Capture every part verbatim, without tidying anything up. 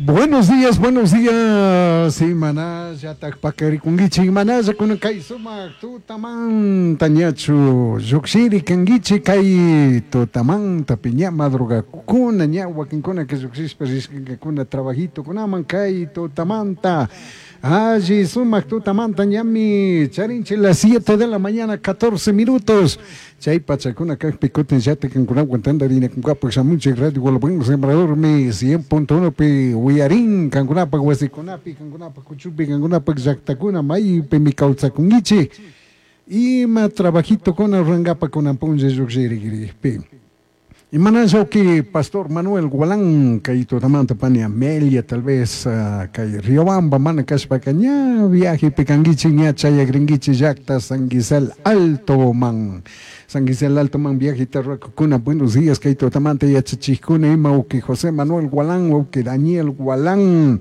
Buenos días, buenos días. Imanallatak pakarikunkichik, imanalla kunan kay sumak tutamanta ñachu lluqshiri kankichik kay tutamanta ña madrugakuna ña wakinkuna que lluqshishpa rishkankakuna trabajitokunaman kay tutamanta. Alli sumak tutamanta ñami charinchik las siete de la mañana catorce minutos. Chay pachakuna kaqpi kutin llata kankunawan tantarinakunkapaq shamunchik Radio Buen Sembrador mi cien punto uno pi uyarin kankunapaq wasikunapi kankunapaq kuchupi kankunapaq llaqtakuna maypimi kawsakunkichik ima trabajito kuna rurankapak kunan punlla lluqshirikripi. Imanalla que Pastor Manuel Gualán, kay tutamanta pani Amelia, tal vez uh, kay Riobamba, mana kashpaka ña viaje pikanguichi ña chayagringuichi llaqta San Gisel Alto man. San Gisel Alto man viaje tarrakukuna, buenos días kay tutamanta yachachikuna ima uki José Manuel Gualán, uki Daniel Gualán,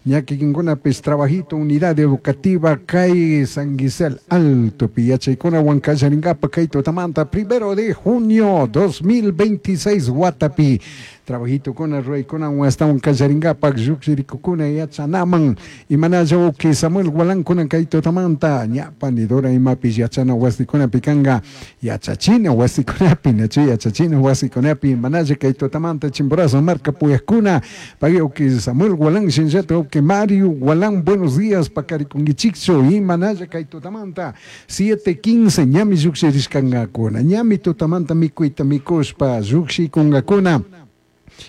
ña kikinkunapis trabajito unidad educativa kay San Gisel Alto pi yachaykuna huancallaringapa kay tutamanta primero de junio dos mil veintiséis watapi trabajito kuna ruwaykuna wastawan kallarinkapak lluqshirikukuna yachanaman imanalla uki Samuel Gualán kunan kay tutamanta ña panidora imapis yachana wasikunapi kanka yachachina wasikunapi nachu yachachina wasikunapi imanalla kay tutamanta Chimborazo marka puyakuna pagui uki Samuel Gualán shinllata uki Mario Gualán buenos días pakarikunkichikchu imanalla kay tutamanta siete quince ñami lluqshirishkankakuna ñami tutamanta mikuyta mikushpa lluqshikunkakuna.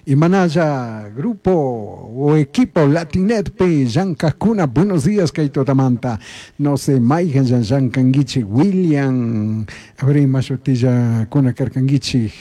Imanalla grupo o equipo Latinet pi llankakuna buenos días kay tutamanta no sé mayhan llankankichik William a ver ima shutilla kuna karkankichik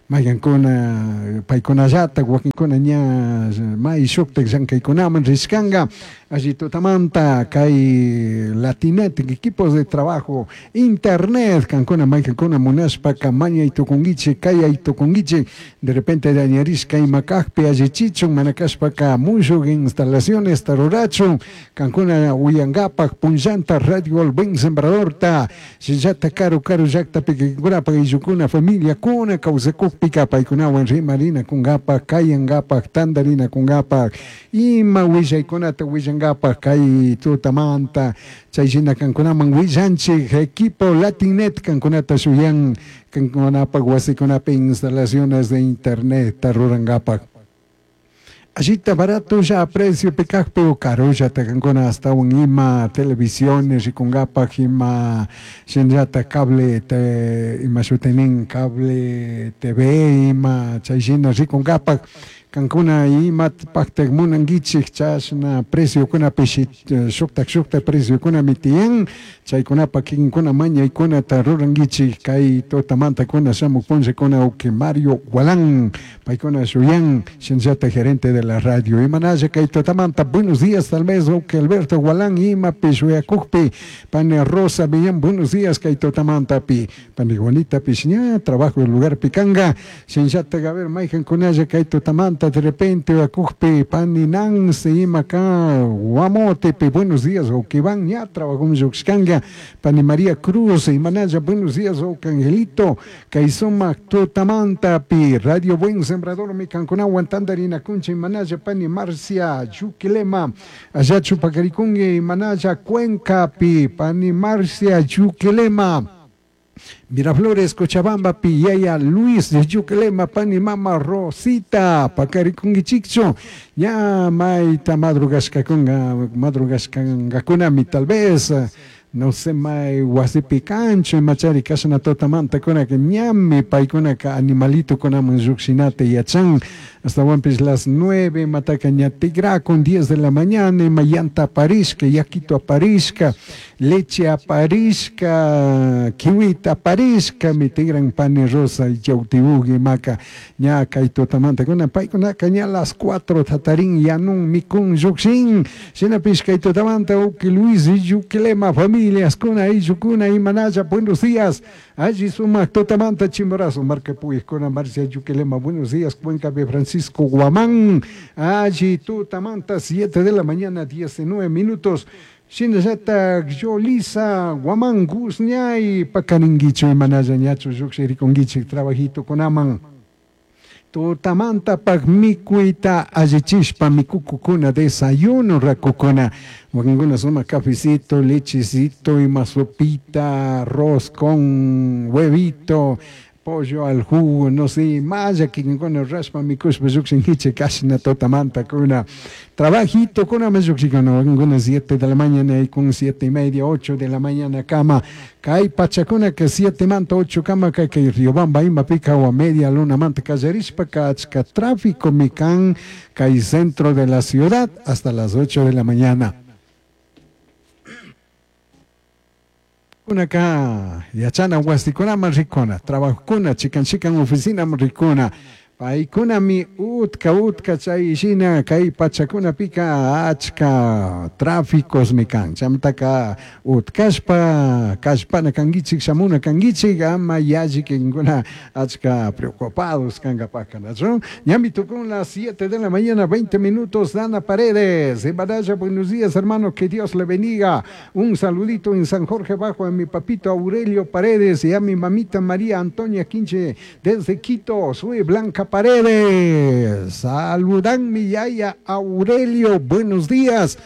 mayhankuna paykunallata wakinkuna ña may shuktak llankaykunaman rishkanka allí tutamanta kay Latinet equipos de trabajo internet kankuna mayhankuna munashpaka mañay tukunkichik kayay tukunkichik de repente dañarishka ima kaqpi allichichun mana kashpaka mushuk instalaciones tarurachun kankuna uyankapak punllanta Radio El Buen Sembradorta shinllata karu karu llaqtapi kikinkunapaq ayllukuna familiakuna kawsakukpika paykunawan rimarina kunkapak kayankapak tantarina kunkapak ima willaykunata willankapak kay tutamanta chay shina kankunaman willanchik equipo Latinet kankunata shuyan kankunapak wasikunapi instalaciones de internet rurankapak. Allita barato ya precio picakpi o carulla takankuna hasta un ima televisiones rikunkapak ima shinllata cable te ima shutinin cable T V ima chay shina rikunkapak kankuna ima paktak munankichik chashna preciokuna pishi shuktak shuktak preciokuna mitiyan chaykunapak kikinkuna mañaykunata rurankichik kay tutamantakuna shamuk punllakuna uki Mario Gualán paykuna shuyan shinllata gerente de la radio imanalla kay tutamanta buenos días tal vez uki Alberto Gualán imapi shuyakukpi pani Rosa Millán buenos días kay tutamantapi pani Juanita pish ña trabajo del lugar pikanga shinllata a ver mayhankunalla kay tutamanta de repente akukpi pani Nancy ima ka Guamotepi buenos días uki van ña trabajo lluqshkanka pani María Cruz imanalla buenos días uki Angelito kay sumak tutamantapi Radio Buen Sembrador mi kankunawan tantarinakunchik imanalla pani Marcia Yuquilema allá chupakarikunki imanalla Cuencapi pani Marcia Yuquilema Miraflores, Cochabamba, Piyaya, Luis de Yuquilema, pani mama Rosita, pakarikunkichikchu, ña mayta madrugashkakunga, madrugashkankakuna tal vez, no sé may wasipi kanchu imachari kashna tutamanta kunaka ñami paykunaka animalito kunaman lluqshinata yachan astawanpis las nueve mataka ña tigrakun diez de la mañana ima llanta aparishka yakito aparishka leche aparishka kiwita aparishka mi tigran pani rosa y yautibugi imaka ña kay tutamanta kuna paykunaka ña las cuatro tatarin yanun mikun lluqshin shinapish kay tutamanta uki Luis Yuquilema familias kuna ayllukuna imanalla buenos días allí sumak tutamanta Chimborazo marca puyakuna Marcia Yuquilema buenos días Cuenca de Francisco Guamán allí tutamanta siete de la mañana diecinueve minutos Shinallata Yolisa Guamán Guzñay pakaringuichu imanalla ñachu lluqshirikunkichik trabajito kunaman. Tutamantapaj mikuyta allichishpa mikukukuna desayuno rakukuna wakinkuna sumak cafecito, lechecito, ima sopita, arroz con huevito, pollo al jugo, no sé, malla kikinkuna rurashpa mikushpa llukshinkichik kashna tutamantakuna trabajito kuna llukshinkuna wakinkuna siete de la mañana y con siete y media, ocho de la mañana kama kay pachakunaka siete manta ocho kama kay kay Riobamba imapika o media luna manta kallarishpaka achka tráfico mi kan kay centro de la ciudad hasta las ocho de la mañana. Kunaka yachana wasikunaman rikuna, trabajokuna, chikan chikan oficinaman rikuna, paykunami utka utka chay shina kay pachakunapika achka tráficosmi kan, chaymantaka utkashpa kallpana kankichik shamuna kankichik ama yalli kinkuna achka preocupados kankapaka, ¿no? Ñami tukun las siete de la mañana, veinte minutos, Dana Paredes, en Baraya, buenos días hermano, que Dios le bendiga, un saludito en San Jorge Bajo a mi papito Aurelio Paredes y a mi mamita María Antonia Quinche desde Quito, soy Blanca Paredes, saludan mi yaya Aurelio, buenos días.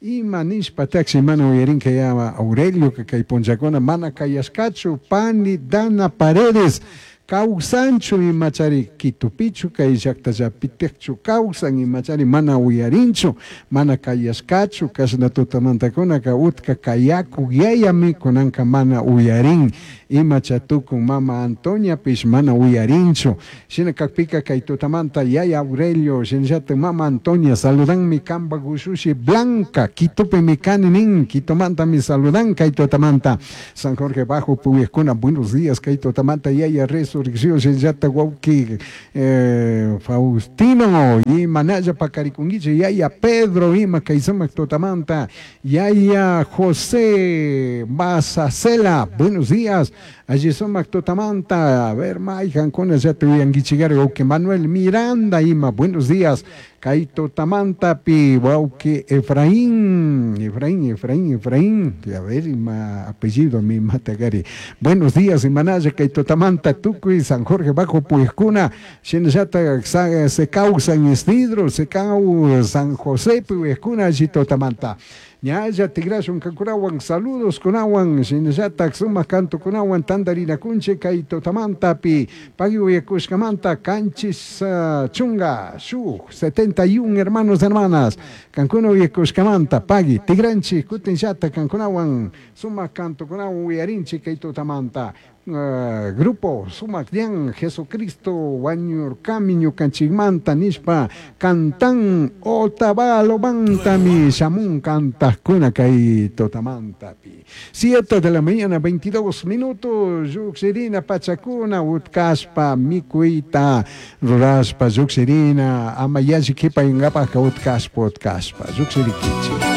Ima nishpa taxi mana uyarinka ya Aurelio que kay punchakuna mana kayashkachu pani Dana Paredes kawsanchu imachari Quitupichu kay llaqtallapitikchu kawsan imachari mana uyarinchu mana kayashkachu kashna tutamantakunaka utka kayaku yayami kunanka mana uyarin imacha tukun mama Antoniapish mana uyarinchu shina kakpika kay tutamanta yaya Aurelio shinallata mama Antonia saludanmi kamba gushushi Blanca Quitupimi kani nin Quitumantami saludan kay tutamanta San Jorge Bajo puyajkuna buenos días kay tutamanta yaya resurrección shinallata wawki eh, Faustino y manalla pakarikunkichik yaya Pedro ima kay sumak tutamanta yaya José Basacela buenos días allí sumak tutamanta a ver mayqankuna llata uyankichikari wawki Manuel Miranda ima buenos días kay tutamantapi wawki Efraín Efraín Efraín Efraín a ver ima apellido mi matakari buenos días imanalla kay tutamanta tukuy San Jorge Bajo puyajkuna shinallata se kawsan Isidro se kaw San José puyajkuna allí tutamanta ñalla tigrashun kankunawan saludos kunawan shinallata sumak kantukunawan tantarinakunchik kay tutamantapi pagui uyakushkamanta kanchis uh, chunga shuk setenta y un hermanos hermanas kankuna uyakushkamanta pagui tigranchik kutinllata kankunawan sumak kantukunawan uyarinchik kay tutamanta. Uh, grupo Sumak Ñan Jesucristo wañurkami ñukanchikmanta nishpa cantan Otavalo mantami shamun kantajkuna kay tutamantapi siete de la mañana veintidós minutos lluqshirina pachakuna utkashpa mikuyta rurashpa lluqshirina ama yalli qhipayankapajka utkashpa utkashpa lluqshirikichik.